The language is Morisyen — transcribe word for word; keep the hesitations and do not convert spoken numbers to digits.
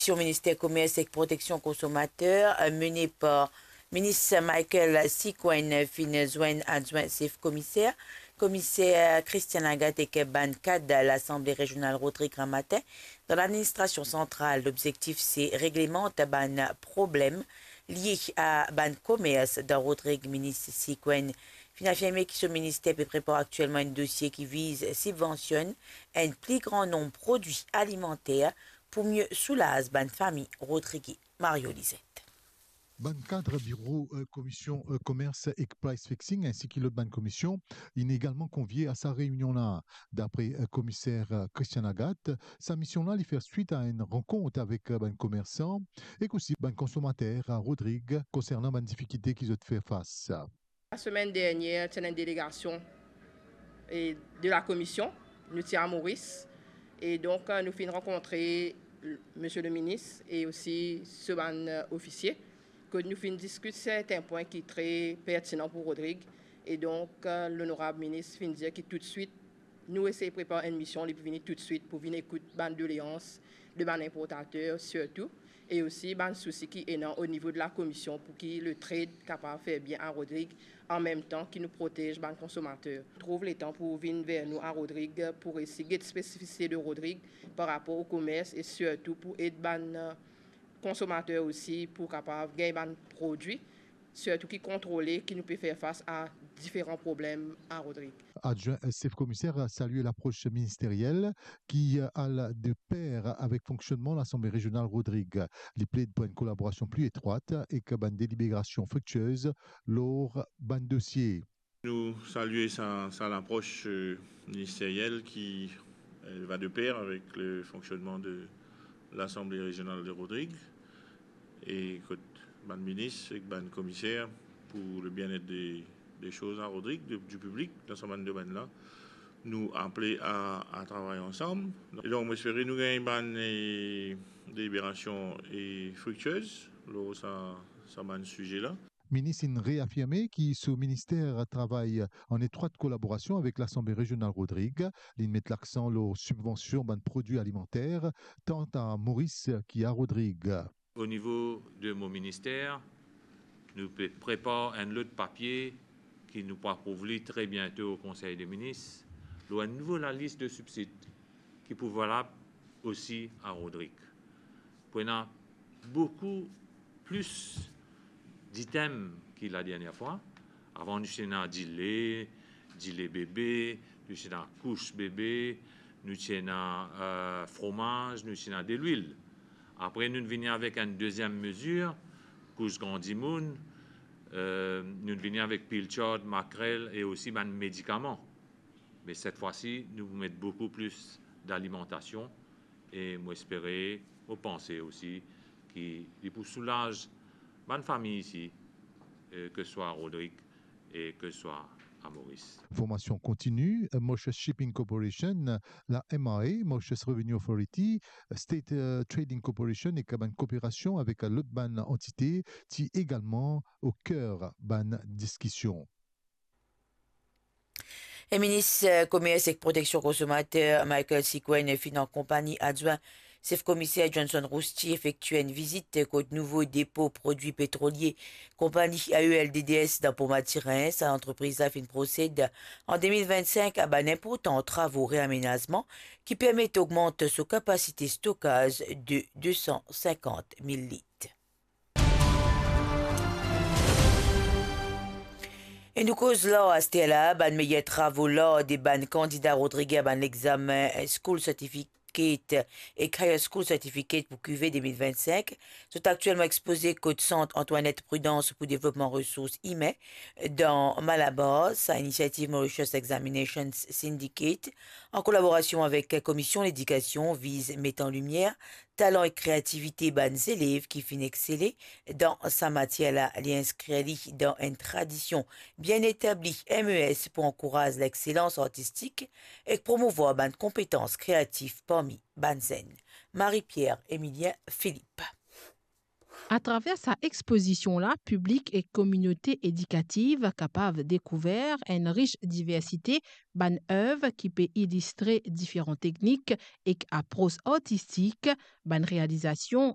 Komisyon Minister Komers ek Proteksion Konsomater, eh, mene par Minis Michael Sigouin, finn zwenn adwin sef komiser, komiser Christian Agathe ek bann kad Lasanble Rezional Rodrig gramatin dan ladministrasion santral. Lobzektif se reglemant bann problem lie a bann komers dan Rodrig. Minis Sigouin finn afirme ki so minister pe prepar aktielman enn dosie ki viz sibvansionn enn pli gran nonb prodwi alimanter pou mie soulaz bann fami Rodrigien. Mario Lizette. Bann kad biro, eh, Komisyon, eh, Komers ek Price Fixing, ainsi ki lot bann komisyon, inn egalman konvie a sa reynion la. Dapre, eh, komiser, eh, Christian Agathe, sa mision la li fer swit a enn rankont avek, eh, bann komersan ek osi bann konsomater a Rodrig konsernan bann difikilte ki zot fer fas. Lasemenn dernier, ti ena enn delegasion, eh, de la komisyon, nou ti a Moris, e donk, eh, nou finn rankontre, eh, misie le minis e osi so bann, eh, ofisie, kot nou finn diskit sertin pwin ki tre pertinan pou Rodrig, e donk, eh, lonorab minis finn dir ki toutswit nou esey prepar enn mision, li pou vini toutswit pou vinn ekout bann doleans de bann inportater sirtou, e osi bann sousi ki ena o nivo de la komisyon pou ki le trade kapav fer bien a Rodrig, an mem tan ki nou protez bann konsomater. Trouv letan pou vinn ver nou a Rodrig pou resi get spesifisite de Rodrig par rapor o komers e sirtou pou ed bann, eh, konsomater osi pou kapav gagn bann prodwi sirtou ki kontrole, ki nou pe fer fas a diferan problem a Rodrig. Adwin sef komiser salye lapros ministeriel ki al de per avek fonksionnman Lasanble Rezional Rodrig. Li pled pou enn kolaborasion pli etrwat ek bann deliberasion friktiez lor bann dosie. Nou salye sa, sa lapros, eh, ministeriel ki, eh, va de per avek le fonksionnman de Lasanble Rezional de Rodrig, e kot bann minis ek bann komiser pou le bien-être de, de soz a Rodrig, de, di piblik dan sa bann domenn la, nou aple a, a travay ansam. E donk, mo espere nou gagn bann, eh, deliberasion, eh, friktiez lor sa, sa bann size la. Minis inn reafirme ki so minister travay an etrwat kolaborasion avek Lasanble Rezional Rodrig. Li met laksan lor sibvansion bann prodwi alimanter, tan a Moris ki a Rodrig. O nivo de mo minister, nou pe prepar enn lot papie ki nou pou aprouv li tre biento o Konsey de Minis, lor enn nouvo lalis de sibsid ki pou valab osi a Rodrig. Pou ena boukou plis ditem ki ladernie fwa. Avan, nou ti ena dile, dile bebe, nou ti ena kous bebe, nou ti ena, eh, fromaz, nou ti ena delwil. Apre, nou vini avek enn deziem mezir, kous gran dimoun, eh, nou vini avek pilchard, makrel e osi bann medikaman. Me set fwa si, nou pou met boukou plis dalimantasion e mo espere, mo panse osi ki li pou soulaz bann fami isi, eh, ke swa a Rodrig e ke swa a Moris. Formasion kontini, eh, Mauritius Shipping Corporation, la M R A, Mauritius Revenue Authority, State, eh, Trading Corporation ek bann kooperasion avek lot bann antite ti egalman o ker bann diskision. E minis, eh, Komers ek Proteksion Konsomater, Michael Sigouin, finn an konpagni adwin sef komiser Johnson Roustier efektie enn vizit kot nouvo depo prodwi petrolie konpagni A E L D D S dan Port Mathurin. Sa lantrepriz la finn prosed an de mil vinn-sink a bann inportan travo reamenazman ki permet ogmant so kapasite stokaz de de san sinkant mil lit. E nou koz lar aster la, bann meyer travo lar de bann kandida Rodrig a bann lexamen School Certificate ek Higher School Certificate pou kive de mil vinn-sink. Zot aktielman expoze kot Sant Antoinette Prudence pou devlopman resours imin dan Malabar. Sa inisiativ Mauritius Examinations Syndicate, an kolaborasion avek Komisyon Ledikasion, viz met an limier talan ek kreativite bann zelev ki finn exsele dan sa matier la. Li inskrir li dan enn tradision bien etabli M E S pou ankouraz lexselans artistik ek promouvwar bann konpetans kreatif parmi bann zenn. Marie-Pierre Emilien Philippe. Atraver sa expozision la, piblik ek kominote edikativ kapav dekouver enn ris diversite bann ev ki pe ilistre diferan teknik ek apros artistik, bann realizasion